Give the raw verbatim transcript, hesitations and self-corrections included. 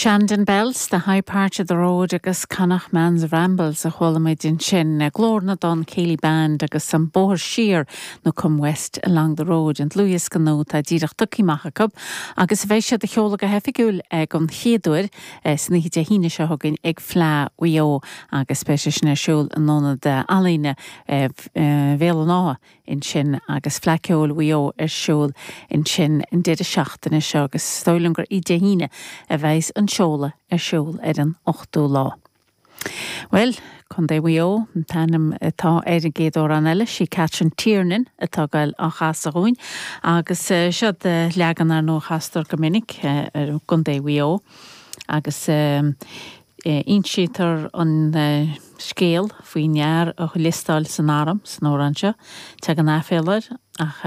Shandon Bells, the high part of the road agus Connachtman's Rambles a chuala muid ansin Glór na dTonn Céilí Band agus an Bóthar Siar nó Come West along the road an dlúthdhiosca nua atá díreach tugtha amach acu agus bheidh siad á sheoladh go hoifigiúil ag an chéad uair san oíche Dé hAoine seo chugainn ag Fleadh Mhaigh Eo agus beidh sé sin ar siúl in Ionad Ealaíne Bhéal an Átha ansin agus Fleadh Cheoil Mhaigh Eo ar siúl ansin an deireadh seachtaine seo agus is dóigh liom gur Dé hAoine a bheidh an seoladh ar siúl ar an ochtú lá. Well, Contae Mhaigh Eo an t-ainm atá ar an gcéad amhrán eile sí Catherine Tiernan atá ag dul á chasadh dúinn agus seo leagan ar ndóigh a chastar go minic ar Contae Mhaigh Eo agus insítear an scéal faoin fhear a liostáil san arm san amhrán seo, Tagann aiféala air ach